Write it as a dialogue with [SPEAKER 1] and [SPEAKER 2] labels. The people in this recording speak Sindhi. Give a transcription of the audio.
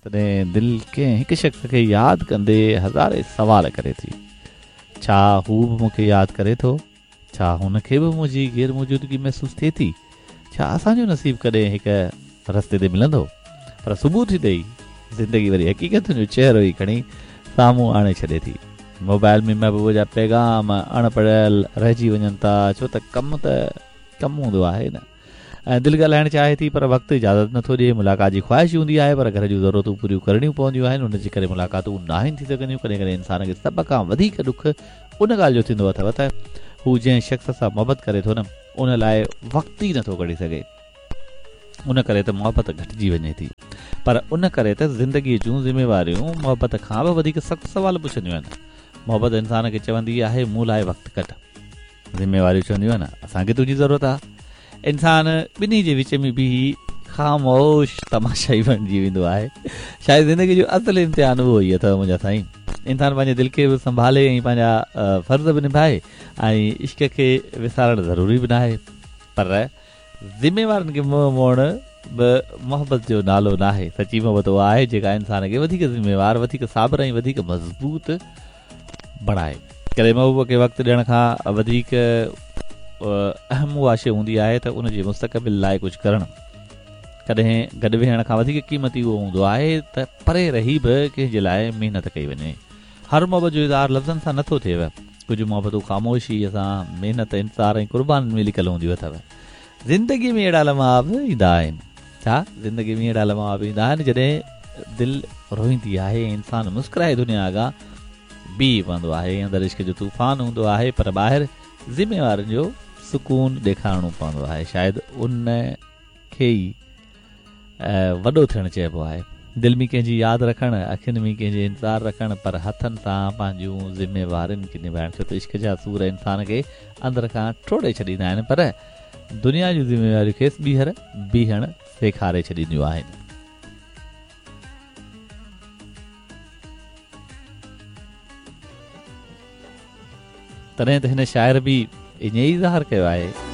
[SPEAKER 1] تڏهن دل ڪنهن هڪ شخص کي ياد ڪندي هزارين سوال ڪري ٿي. ڇا هو به مون کي ياد ڪري ٿو؟ ڇا هن کي به منهنجي غير موجودگي محسوس ٿئي ٿي؟ ڇا اسان جو نصيب ڪڏهن هڪ رستي تي ملندو؟ پر صبح ٿيندي ئي زندگي وري حقيقتن جو چهرو ئي کڻي سامهون آڻي ڇڏي ٿي. موبائل ۾ محبوب جا پيغام اڻ پڙهيل رهجي وڃن ٿا ڇو ته ڪم ته ڪم هوندو آهي نه. ۽ دل ڳالهائڻ چاهي ٿي پر وقت اجازت نٿو ڏئي، ملاقات جي خواهش هوندي آهي پر گهر جون ضرورتون پوريون ڪرڻيون پونديون آهن ان جي ڪري ملاقاتون ناهن ٿي سگهنديون، ڪڏهن ڪڏهن انسان کي سڀ کان وڌيڪ ڏک ان ڳالهه جو ٿيندو اٿو ته هو جنهن شخص سان محبت ڪري ٿو نه ان لاء وقت ئي نٿو ڪڍي سگهي ان ڪري ته محبت گهٽجي وڃي ٿي پر ان ڪري ته زندگي جون ذميواريون محبت کان به وڌيڪ سخت سوال پڇنديون آهن محبت انسان کي چوندي آهي مون لاء وقت ڪڍ. ذميواريون چونديون آهن اسان کي تنهنجي ضرورت آهي. انسان ٻنهي جي وچ ۾ بيهي خاموش تماشائي بڻجي ويندو آهي. شايد زندگي جو اصل امتحان اهو ئي اٿو منهنجا سائين. انسان پنهنجي دل کي به سنڀالي ۽ پنهنجا فرض به نڀائي ۽ عشق کي وسارڻ ضروري به ناهي پر ذميوارين کي منهن موڙڻ به محبت جو نالو ناهي. سچي محبت اها آهي جيڪا انسان کي وڌيڪ ذميوار، وڌيڪ صابر ۽ وڌيڪ مضبوط بڻائي. ڪڏهن محبوب کي وقت ڏيڻ کان وڌيڪ اهم اها شيء هوندي آهي ته ان جي مستقبل لاء ڪجهه ڪرڻ. ڪڏهن گڏ ويهڻ کان وڌيڪ قيمتي اهو هوندو آهي ته پري رهي به ڪنهن جي لاء محنت ڪئي وڃي. هر محبت جو اظهار لفظن سان نٿو ٿئي. ڪجهه محبتون خاموشيء سان، محنت، انتظار ۽ قربانين ۾ لڪل هونديون اٿو. زندگيء ۾ اهڙا لمحا به ايندا آهن. ڇا زندگيء ۾ اهڙا لمحا به ايندا آهن جڏهن دل روئيندي آهي ۽ انسان مسڪرائي دنيا اڳيان بيهي پوندو آهي ۽ اندر عشق جو طوفان هوندو آهي پر ٻاهر ذميوارين جو سڪون ڏيکارڻو پوندو آهي. شايد ان کي ئي وڏو ٿيڻ چئبو آهي. دل ۾ ڪنهن جي ياد رکڻ، اکين ۾ ڪنهن جي انتظار رکڻ، پر هٿن سان پنهنجون ذميوارين کي نڀائڻ ڇو ته عشق جا سور انسان کي اندر کان ٽوڙي ڇڏيندا آهن پر دنيا جون ذميواريون کيس ٻيهر بيهڻ سيکاري ڇڏينديون آهن. تڏهن ته هن شاعر به ائين ئي اظهار ڪيو آهي.